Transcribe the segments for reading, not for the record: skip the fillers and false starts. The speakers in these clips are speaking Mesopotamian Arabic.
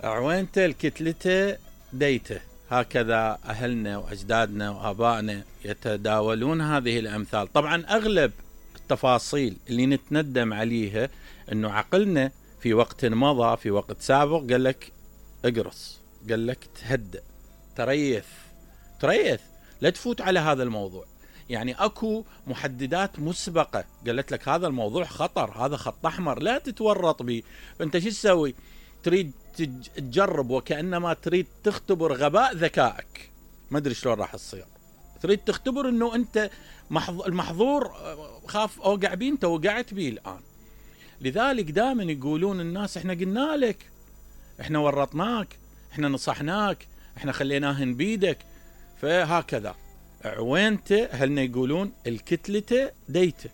عوينته الكتلته ديته، هكذا أهلنا وأجدادنا وآبائنا يتداولون هذه الأمثال. طبعا أغلب التفاصيل اللي نتندم عليها أنه عقلنا في وقت مضى، في وقت سابق، قال لك اقرص، قال لك تهدأ، تريث، لا تفوت على هذا الموضوع. يعني أكو محددات مسبقة قالت لك هذا الموضوع خطر، هذا خط أحمر، لا تتورط به. فأنت شو تسوي؟ تريد تجرب، وكأنما تريد تختبر غباء ذكائك. ما أدري شلون راح تصير. تريد تختبر أنه أنت المحظور خاف أوقع بيه، أنت وقعت بيه الآن. لذلك دائما يقولون الناس احنا قلنا لك، احنا ورطناك، احنا نصحناك، احنا خليناهن بيدك. فهكذا عوينته، هلنا يقولون الكتلته ديته.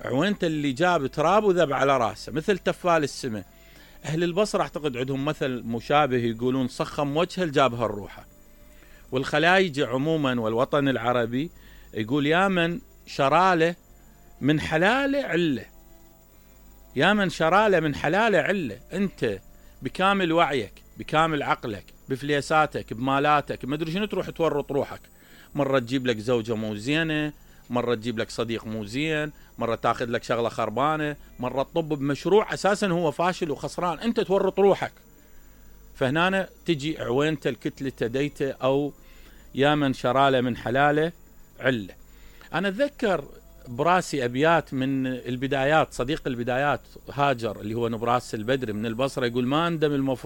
عوينته اللي جاب تراب وذب على راسه، مثل تفال السماء. أهل البصرة أعتقد عندهم مثل مشابه، يقولون صخم وجهه لجابها الروحة. والخلايج عموما والوطن العربي يقول يا من شراله من حلاله عله، يا من شراله من حلاله عله. أنت بكامل وعيك، بكامل عقلك، بفليساتك، بمالاتك، ما أدري شنو، تروح تورط روحك. مرة تجيب لك زوجة مو زينة، مرة تجيب لك صديق مو زين، مرة تاخذ لك شغلة خربانة، مرة تطب بمشروع أساسا هو فاشل وخسران، أنت تورط روحك. فهنا تجي عوينته الكتلة ديته، أو يا من شراله من حلاله عله. أنا أتذكر براسي أبيات من البدايات، صديق البدايات هاجر اللي هو نبراس البدري من البصرة، يقول ما أندم المفروض